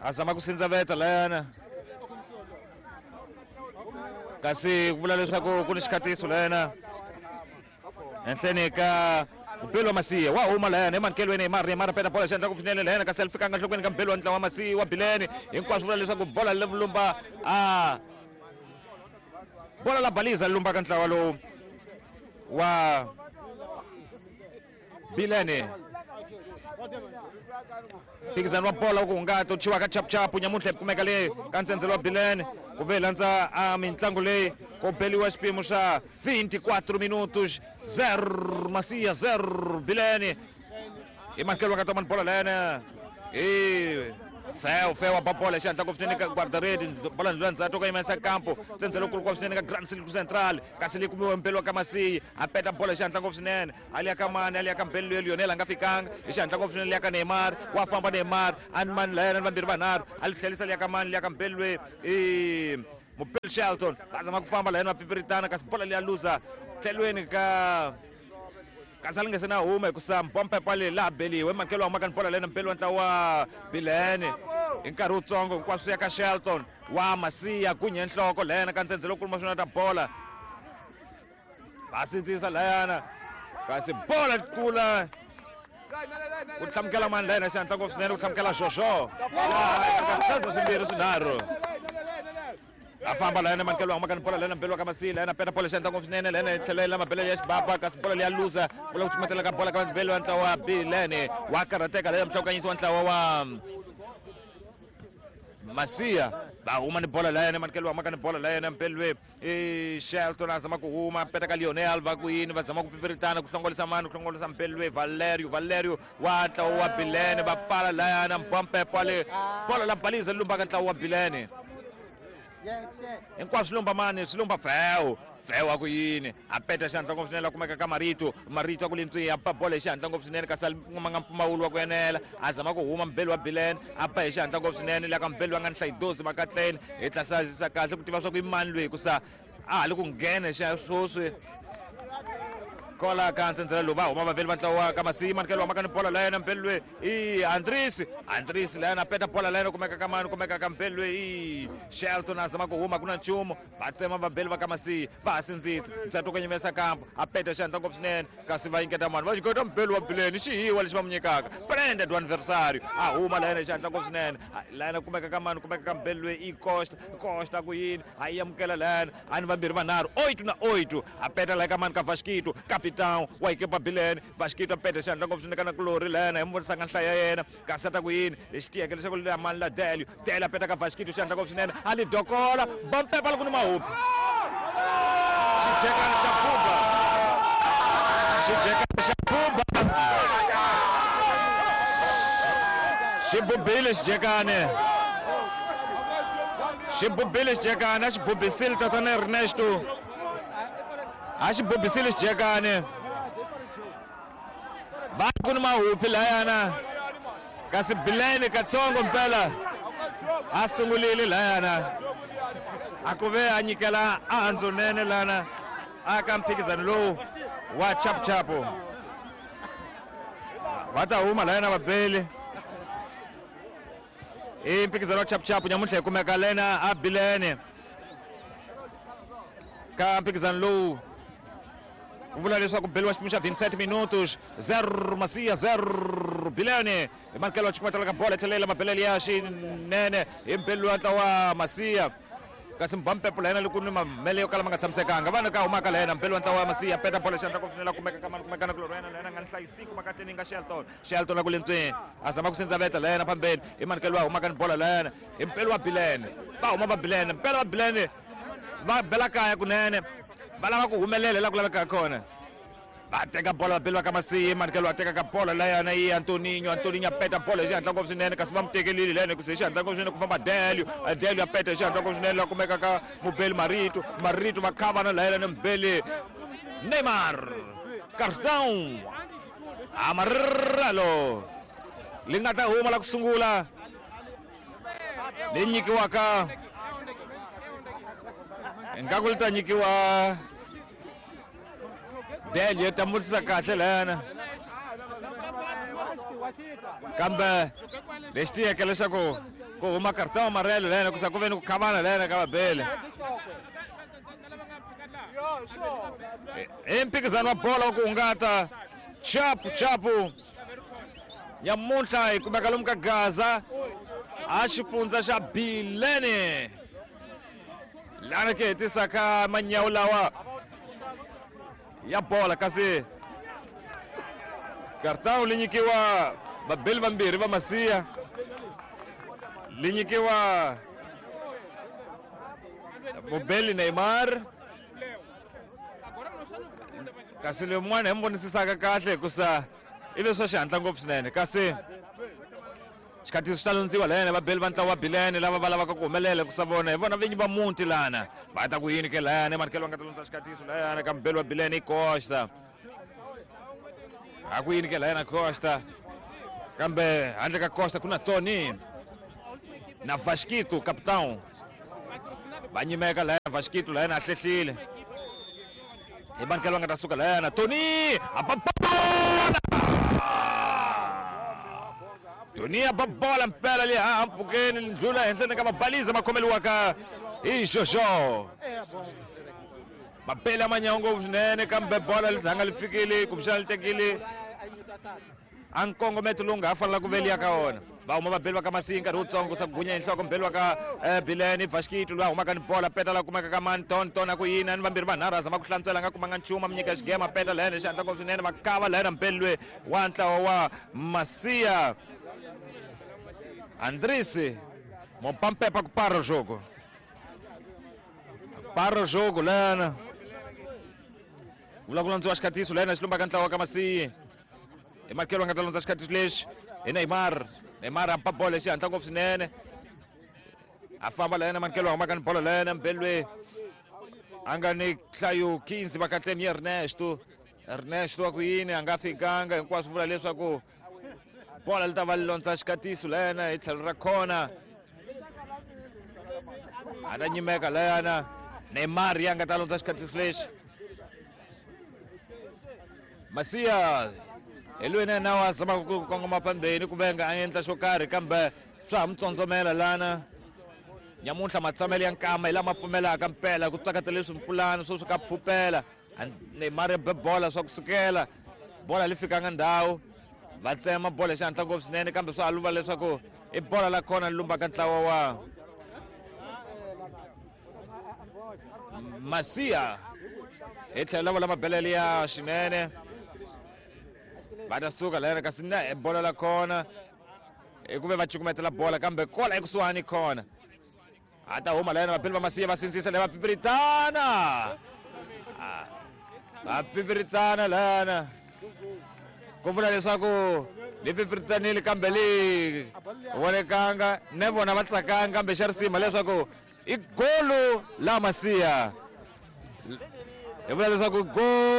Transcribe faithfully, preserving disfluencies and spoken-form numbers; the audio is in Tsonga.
A zama ku sindzaveta layana kasi ku vula leswaku ku ni xikhatiso layana henhleni ka Mbelo wa Masiya wa huma layana emankelweni Neymar Neymar peta bola xandla ku finele layana kasi ali fikanga nhlokweni ka Mbelo wa ntlawa wa Masiya wa Bilene hinkwaswo vula leswaku bola le vulumba a bola la baliza lumba ka ntlawa lowu wa Bilene mphikizano wa bola ku hungata u thyiwa ka chapuchapu nyamuntlha kumeka le ka ntsendzelo wa Bilene ku ve landza a mintlangu leyi ku beliwa xipimo xa vinte e quatro minutos, zero Masiya, zero Bilene. Hi mankelo wa ka tomani bola layana hi Feo Feo a ba bola xihatla ngopfu swinene ka guarda-rede bola ndlula ndzhaku ka yimesa campo tsendzelo kulu swinene ka Grand Círculo Central kasi leyi kumiwe mpelo wa ka Masiyi a peta bola xihatla ngopfu swinene a liya ka mani a liya ka mpelo loyi Lionel a nga fikanga hi xihatla ngopfu swinene liya ka Neymar wa famba Neymar a ni mani layana ni vambirhi vanharhu a li tlhelisa liya ka mani liya ka mpelo loyi i Mupel Shelton va zama ku famba layani va pipiritana kasi bola liya luza tlhelweni ka kasi a li nge se na huma hikusa mpompepa leyi laha beliwe mankelo wa humaka ni bola lena mpelo wa ntlawa wa Bilene hi nkarhi wutsongo hinkwaswo ya ka Shelton wa Masiya gunye nhloko layana ka ntsendzelo kuluma swona ta bola va sindzisa layana kasi bola kula ku tlhamukela mani layana xihatla ngopfu swinene ku tlhamukela Jojo hlaza swimbirhi swinharhu a famba layana mankelo humaka ni bola layana mbelo ka Masiya layana peta bola xihatla ngopfu swinene layana yi tlhela yi la mabelele ya xibaba kasi bola leya luza bola ku cumatela ka bola ka mbelo wa ntlawa wa Bilene wa karhateka layana muhlawukanyisi wa ntlawa wa Masiya va huma ni bola layana mankelo humaka ni bola layana mbelwe i Shelton a zama ku huma peta ka Lionel va ku yini va zama ku pipiritana ku hlongolisa mani ku hlongolisa mbelwe Valerio Valerio wa ntlawa wa Bilene va pfala layana mpompepo le bola la baliza lumbaka ntlawa wa Bilene hinkwaswo swi lumba mani swi lumba Feo Feo a ku yini a peta xihatla ngopfu swinene la kumeka ka Marito Marito a ku lintswi a ba bola hi xihatla ngopfu swinene kasi a kumanga mpfumawulo wa ku enela a zama ku huma mbelo wa Bilene a ba hi xihatla ngopfu swinene la ka mbelo wa nga ni hlayidozi makatleni hi tlasisa kahle ku tiva swa ku i mani loyi hikusa a ha li ku nghena xa swoswi kola ka ntsendzela lowu va huma vaveli va ntlawa wa ka Masiyi manikelo humaka ni bola layena mbelo loyi i Andris Andris layena peta bola layena kumeka ka mani kumeka ka mbelo loyi i Shelton a zama ku huma ku na nchumu va tsema vabeli va ka Masiyi va ha sindzisa ntsatu ka nyimesa kampo a peta xihatla ngopfu swinene kasi va nyiketa mani va nyiketa mbelo wa Bileni xihiwa lexi va mu nyikaka prende do adversário a huma layena xihatla ngopfu swinene layena kumeka ka mani kumeka ka mbelo loyi i Costa Costa ku yini a yi amukela layena a ni vambirhi vanharhu oito na oito a peta laya ka mani ka Vasquito capitão wa ekipa Bilene Vasquito a peta xihatla ngopfu swinene ka na kulori layena hi mu vonisanga nhlaya ya yena kasi a ta ku yini lexi tiyeke leswaku leya mani la Delio Delio a peta ka Vasquito xihatla ngopfu swinene a li dokola bompepa loko ni mahupi xijekani xa buba xijekani xa buba xi bubile xijekani xi bubile xijekani a xi bubisile tatana Ernesto a xi bubisile xijekani va ku ni mahupi layana kasi Bilene katsongo mpela a sungulile layana a ku ve a nyikela a nene lana a ka mphikizano lowu wa chapuchapu va ta huma layana vabeli i mphikizano wa chapuchapu nyamuntlha hi kumeka lena a Bilene ka mphikizano lowu ku vula leswaku beliwa xipimo xa vinte e sete minutos, zero Masiya, zero Bilene. Hi manikelo wa xikumatela ka bola tlhelela mabelele ya xinene hi mbelu wa ntlawa wa Masiya kasi mbampepo la yena loko ni mamele yo kala ma nga tshamisekanga vana ka humaka la yena mbelu wa ntlawa wa Masiya peta bola xiandla ku finela kumeka ka mani kumeka na kulori yena la yena nga ni hlayisiku makateni nga Shelton Shelton la ku lentsweni a zama ku sindzaveta la yena phambeni hi manikelo wa humaka ni bola la yena hi mpelo wa Bilene va huma va Bilene mpela va Bilene va bela kaya kunene va lava ku humelela la ku lavekaka kona va teka bola va beli va ka Masiyi manikelo wa teka ka bola layana i Antoninho Antoninho a peta bola hi xihatla ngopfu swinene kasi va mu tekelile layana hikuze hi xihatla ngopfu swinene ku famba Delio Delio a peta hi xihatla ngopfu swinene la kumeka ka mubeli Marito Marito va khavana layana ni mubeli Neymar Carstão Amarelo li nga ta huma la ku sungula leyi nyikiwaka ingaku li ta nyikiwa Delio ta mutisa kahle layana Kambe lexi tiyeke leswaku ku huma cartão amarelo lena ku sa ku ve ni ku khavana lena ka vabeli. I mphikizano wa bolo wa ku hungata chapu chapu nyamuntlha hi kumeka lomu ka Gaza a xifundza xa Bilene lana ke hetisaka manyawu lawa ya bola kasi cartão li nyikiwa vabeli vambirhi va Masiya li nyikiwa mubeli Neymar kasi lowun'wana hi mi vonisisaka kahle hikusa i leswi swa xihatla ngopfu swinene kasi xikhatiso xi ta lundziwa lena vabeli va ntlawa wa Bilene lava va lavaka ku humelela hikusa vona hi vona vinyi va muti lana va ta ku yini ke layani manikelo va nga ta lundza xikhatiso layana ka mubeli wa Bilene i Costa a ku yini ke layana Costa kambe handle ka Costa ku na Tony na Vasquito capitão va nyimeka layana Vasquito layana a hlehlile hi manikelo va nga ta suka layana Tony a ba bola Tony a ba bola mpela leyi a mpfhukeni ndlula henhleni ka mabaliza ma khomeliwaka hi Jojo mabeli a manyawu ngopfu swinene kambe bola li zanga li fikile kumbexana li tekile a nkongometo lowu nga ha fanela ku veliya ka wona va huma vabeli va ka Masiya nkarhi wutsongo sa gunya hi nhloko mbeli wa ka Bilene Vasquito loyi a humaka ni bola peta la kumeka ka mani ton ton a ku yini ni vambirhi vanharhu a zama ku hlantswela a nga kumanga nchumu a mi nyika xigema peta layena xihatla ngopfu swinene va kava layena mbeli loyi wa ntlawa wa Masiya Andrisi mopampepa ku para o jogo para o jogo lena vula ku landziwa xikhatiso lena xi lumbaka ntlawa ka Masiya hi makelo nga ta lundza xikhatiso lexi hi Neymar Neymar a ba bolo xihatla ngopfu swinene a famba lena manikelo a humaka ni bolo lena mbeli loyi a nga ni nhlayo quinze vakatleni Ernesto Ernesto wa ku yini a nga fikanga hinkwaswo vula leswaku bola li ta va li londza xikhatiso lena hi tlhelo ra khona a ta nyimeka lena Neymar ya nga ta londza xikhatiso lexi Masiya hi loyi na yena wa zamaka ku kongoma phambeni ku venga a endla xo karhi kambe swa ha mi tsondzomela lana nyamuntlha matsamelo ya nkama hi lama pfumelaka mpela ku tsakata leswi mpfulani swo swi ka pfupela Neymar ya be bola swa kusukela bola li fikanga ndhawu va tsema bola xihatla ngopfu swinene kambe swa ha luva leswaku i bola la khona li lumbaka ntlawa wa Masiya hi tlhelo la vola mabelele ya xinene va ta suka lera kasi na bola la khona hi ku ve va cukumetela bola kambe kola ekusuhani khona a ta huma lena vabeli va Masiya va sindzisa le va pipiritana va pipiritana lana ku vula leswaku li pipiritanile kambe li vonekanga ne vona va tsakanga kambe xa risima leswaku i golo la Masiya hi vula leswaku golo.